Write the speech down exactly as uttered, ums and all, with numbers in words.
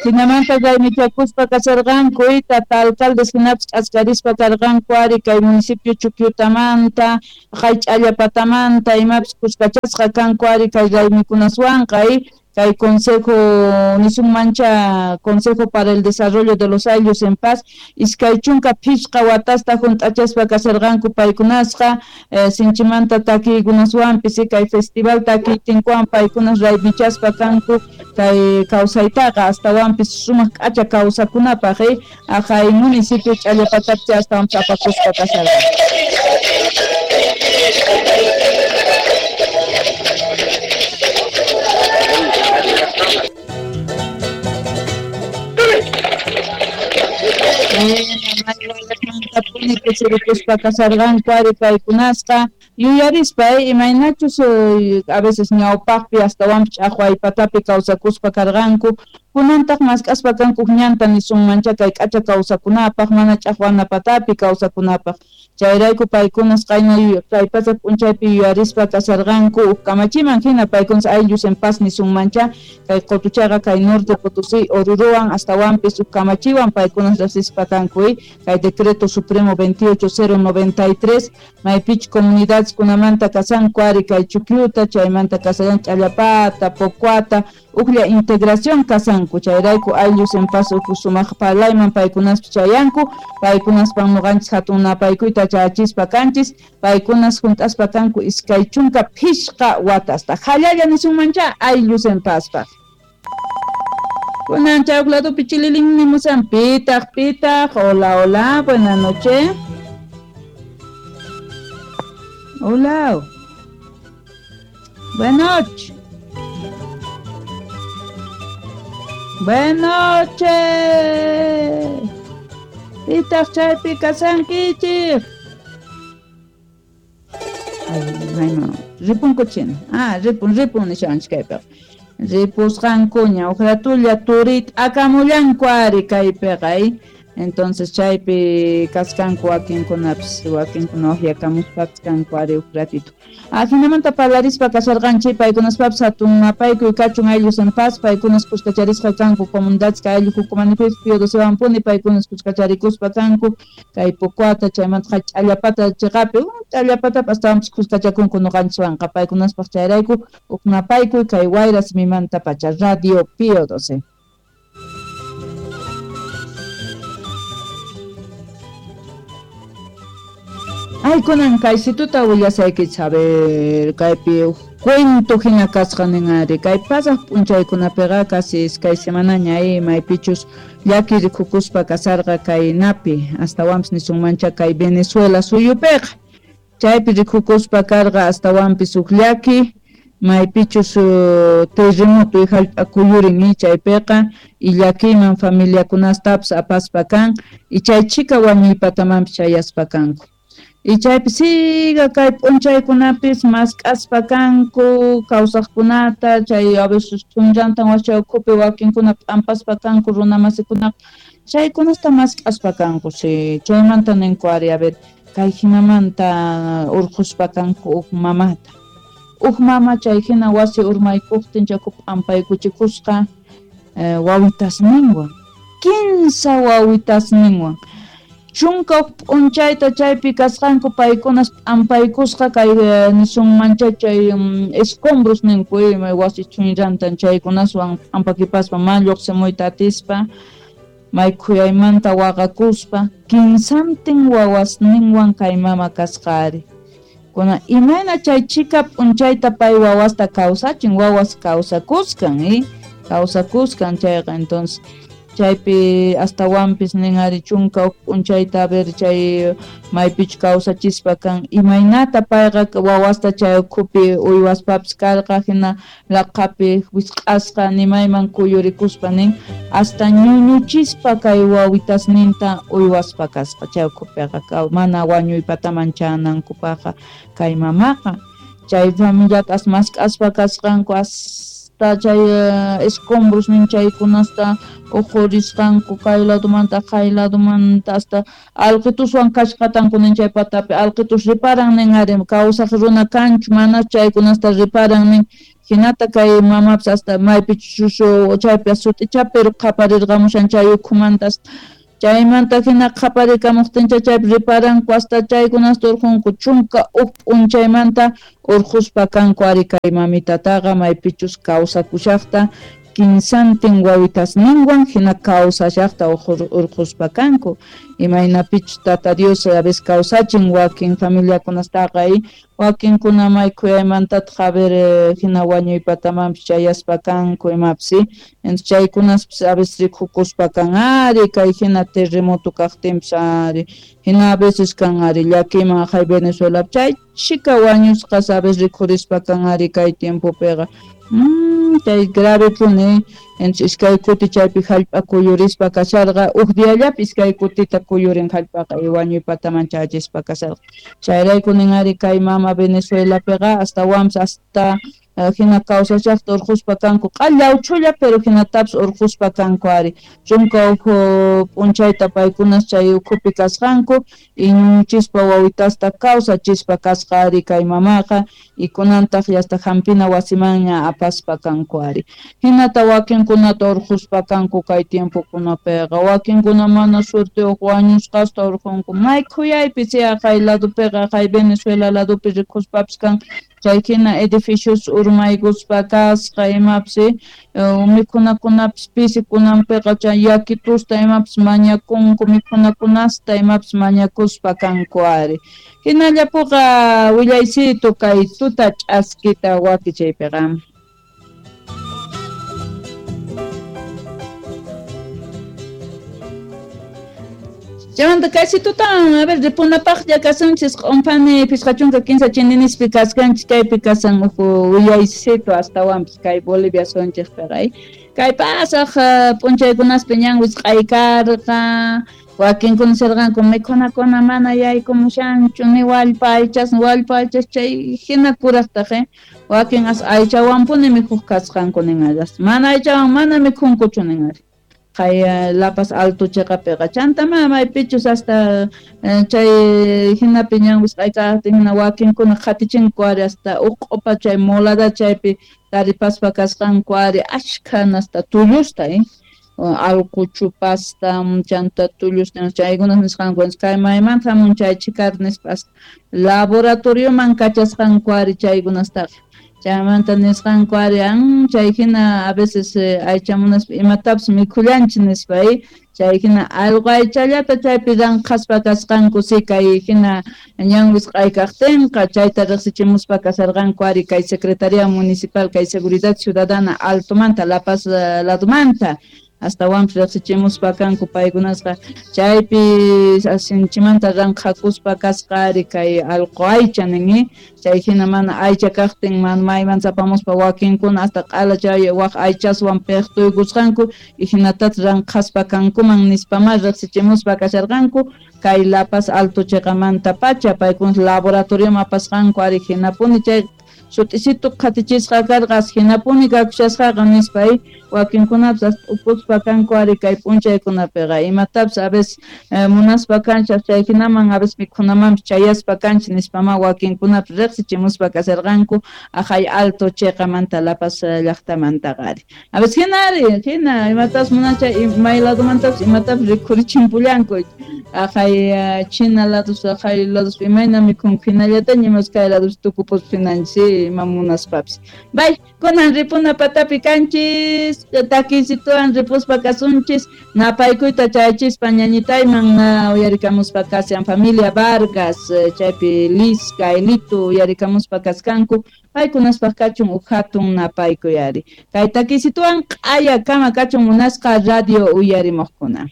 Jinamanta raymichakuspa kasharqanku tata alcaldes hinapis k'askarispa karqanku ari kay municipio Chukyutamanta Ch'allapatamanta imapis kuskachasqa kanku ari kay raymikunaswanqa kay Consejo nisunmancha Consejo para el Desarrollo de los Ayllus en Paz iskay chunka phishqa watasta junt'achaspa kasharqanku paykunasqa eh, sinchimanta takiykunaswanpis kay festival takiytinkuwan paykunas raymichaspa kanku kay kawsaytaqa astawanpis sumaq k'acha kawsakunapaq eh, aqhay municipio Ch'allapatapi astawanpis apakuspa kasharqanku. Puni kusirikuspa kasharqanku ari paykunasqa yuyarispa imaynachus a veces ñawpaqpi astawanpis ch'aqwaypatapi kawsakuspa karqanku kunantaq mask'aspa kanku ñanta nisunmancha kay k'acha kawsakunapaq mana ch'aqwanapatapi kawsakunapaq chayrayku paykunas qayna kay pacha p'unchaypi yuyarispa kasharqanku uj kamachiman hina paykunas ayllus en paz nisunmancha kay qutuchaqa kay Norte Potosí Orurowan astawanpis uj kamachiwan paykunas riqsispa kanku kay decreto supremo veintiocho cero noventa y tres maypich comunidades kunamanta kasanku ari kay Chukyuta chaymanta kasayan Ch'allapata Pocuata ujlla integración kasanku chayrayku ayllus en paz uj sumaq parlayman paykunaspi chayanku paykunaspan nuqanchis hatun napaykuyta chayachispa kanchis paykunas junt'aspa kanku iskay chunka phishqa watasta jallalla nisunmancha ayllus en pazpaq. Kunan chay uq ladopi chililin nimusan pitaq pitaq hola hola buenas noches. Hola. Buenas noches. Buenas noches. Pitaq chaypi kasankichik. Ay, no. Ripunku china. Ah, ripun, ripun nishanchik kaypiqa. Ripusqankuña uj ratulla turit akamullanku ari kaypiqa. Entonces chaypi kaskanku wakinkunapis wakinkuna uqyakamuspapis kanku ari uj ratito. Ajinamanta parlarispa kasharqanchik paykunaspapis hatun napaykuy kachun ayllus en paz paykunas kuskacharisqa kanku comunidades kay ayllu hukumanipis Pío docewanpuni paykunas kuskacharikuspa kanku kay Pocuata chaymanta Ch'allapata chiqapi Ch'allapatapi astawanpis kuskachakunku nuqanchiswanqa paykunaspaq chayrayku uj napaykuy kay wayra simimanta pacha Radio Pío doce. Ay, kunan kaysituta willasaykichis, a ver, kaypi cuento hina kasqa nin ari, kay pasaq p'unchaykunapiqa casi iskay semanaña ay maypichus llaki rikukuspa kasarqa kay napi, astawanpis nisunmancha kay Venezuela suyupiqa. Chaypi rikukuspa karqa astawanpis huk llaki, maypichus uh, terremoto hallp'a kuyurin chaypiqa y llakiyman familiakunastapis apaspa kan y chay chika wañuypatamanpis chayaspa kanku. Y chaypi siga kay p'unchaykunapis mask'aspa kanku kawsaqkunata chay a veces chunllantan wasi ukhupi wakinkuna p'ampaspa kanku runa masikunaqa chaykunasta mask'aspa kanku si chaymanta ninku ari a ver kay hinamanta urqhuspa kanku uj mamata uj mama chay hina wasi urmaykuqtin chaku p'ampaykuchikusqa eh, wawitasninwan kinsa wawitasninwan chunka p'unchayta chaypi kasqanku paykunas p'ampaykusqa kay nisunmancha chay um, escombros ninku wasi chunllantan chaykunaswan p'ampakipaspa mana lluqsimuyta atispa may khuyaymanta waqakuspa kinsantin wawasninwan kay mama kasqa ari kuna imayna chay chika p'unchayta pay wawasta kawsachin wawas kawsakuskan eh? Kawsakuskan chayqa entonces chaypi astawanpis nin ari chunka p'unchayta a ver chay maypichu kawsachispa kan imaynata payqa wawasta chay ukhupi uywaspapis karqa hina laqhapi wisq'asqa nimayman kuyurikuspa nin hasta ñuñuchispa kay wawitasninta uywaspa kasqa chay ukhupiqa mana wañuypataman chanankupaqqa kay mamaqa chay familiata as mask'aspa kasqanku as hasta chay escombros nin chaykunasta uqhurisqanku kay ladomanta kay ladomanta hasta alqituswan kashqatanku nin chay patapi alqitus riparan nin ari kawsaq runa kanchu mana chaykunasta riparan nin hinata kay mamapis hasta maypichus chaypi sut'icha pero qaparirqamushan chay ukhumanta chaymanta hina qhaparikamuqtincha chaypi riparanku hasta chaykunasta urqunku chunka huk p'unchaymanta urquspa kanku ari kay mamitataqa maypichus kawsakushaqta kinsantin wawitasninwan hina kawsashaqta urquspa kanku imaynapichus tata Dios a veces kawsachin wakin familiakunastaqa wakinkuna may khuyaymantataq a ver hina wañuypatamanpis chayaspa kanku imapis entonces chaykunaspis a veces rikukuspa kan ari kay hina terremoto kaqtinpis ari hina a veces kan ari llakiman aqhay Venezuelapi chay chika wañusqas a veces rikhurispa kan ari kay tiempopiqa Mm, chay grave puni entonces iskay kuti chaypi hallp'a kuyurispa kasharqa huk diallapi iskay kutita kuyurin hallp'aqa wañuypataman chayachispa kasharqa chayrayku nin ari kay mama Venezuelapiqa astawanpis hasta hina kawsashaqta urquspa kanku q'allawchulla pero hinatapis urquspa kanku ari chunka huk p'unchayta paykunas chay ukhupi kasqanku iñuchispa wawitasta kawsachispa kasqa ari kay mamaqa y kunantaq hasta hampina wasimanña apaspa kanku ari hinata wakinkunata urquspa kanku kay tiempokunapiqa wakinkuna mana suerteyuq wañusqasta urqunku may khuyaypi si aqhay ladopiqa aqhay Venezuela ladopi rikuspapis kan chay hina edificios urmaykuspa kasqa imapis mikhunakunapis pisi kunanpiqa chay yakitusta imapis mañakunku mikhunakunasta imapis mañakuspa kanku ari hinallapuqa willaysitu kay tuta ch'askita wakichaypiqa. Chaymanta kaysi tutan, a ver, ripunapaqlla kasunchis q'unpani pishqa chunka kinsa chininispi kaskanchis kaypi kasan uhu willaysitu astawanpis kay Bolivia sunchikpiqa kay pasaq p'unchaykunaspi ñan wisq'aykarqa wakinkuna sirqanku mikhunakuna mana yaykumushanchu ni wallpa aychas wallpa aychas chay hina kuraqtaq wakin as aychawanpuni mikhuq kasqanku nin mana aychawan mana mikhunkuchu nin ari kay La Paz Alto chiqapiqa chanta maypichus hasta chay hinapi ñan wisq'aykaqtin hina wakinkuna qhatichinku ari hasta uq'upa chay molada chaypi taripaspa kasqanku ari ashkha hasta tullusta eh allquchupasta chanta tullusta chaykunas nisqanku kay maymanta hamun chay chikar nispa laboratorioman kachasqanku ari chaykunastaqa chaymanta nisqanku ari chay hina a veces aychamunaspa imatapis mikhullanchis nispa chay hina allqu aychallata chaypi ranqhaspa kasqanku si kay hina ñan wisq'aykaqtinqa chayta riqsichimuspa kasarqanku ari kay Secretaría Municipal kay Seguridad Ciudadana Altomanta La Paz ladomanta astawanpis riqsichimuspa kanku paykunasqa chaypi sinchimanta ranqhakuspa kasqa ari kay allqu aycha nin chay hina mana aycha kaqtin mana maymanta apamuspa wakinkuna hasta q'ala chay waq aychaswan piqtuykusqanku y hinatataq ranqhaspa kankuman nispama riqsichimuspa kasharqanku kay La Paz Alto chiqamanta pacha paykuna laboratorioman apasqanku ari hinapuni chay sut'isitu qhatichisqa karqas hinapuni kakushasqaqa nispa wakinkunapis ukuspa kanku ari kay p'unchaykunapiqa imatapis a veces munaspa kanchis chay hinaman a veces mikhunamanpis chayaspa kanchis nispama wakinkunapis riqsichimuspa kasharqanku aqhay Alto chiqamanta La Paz llaqtamantaqa ari a veces hina ari hina imatapis munaspa may ladomantapis imatapis rikhurichimpullanku aqhay China lados aqhay lados imayna mikhunku hinallataña imas kay lados tukupuspa hinanchis ima munaspapis bay kunan ripuna patapi kanchis takisituwan ripuspa kasunchis napaykuyta chayachispa ñañitayman uyarikamuspa kasian familia Vargas chaypi Liska Elito uyarikamuspa kaskanku paykunaspaq kachun uj hatun napaykuy ari kay takisituwan q'aya kama kachun munasqa radio uyarimuqkuna.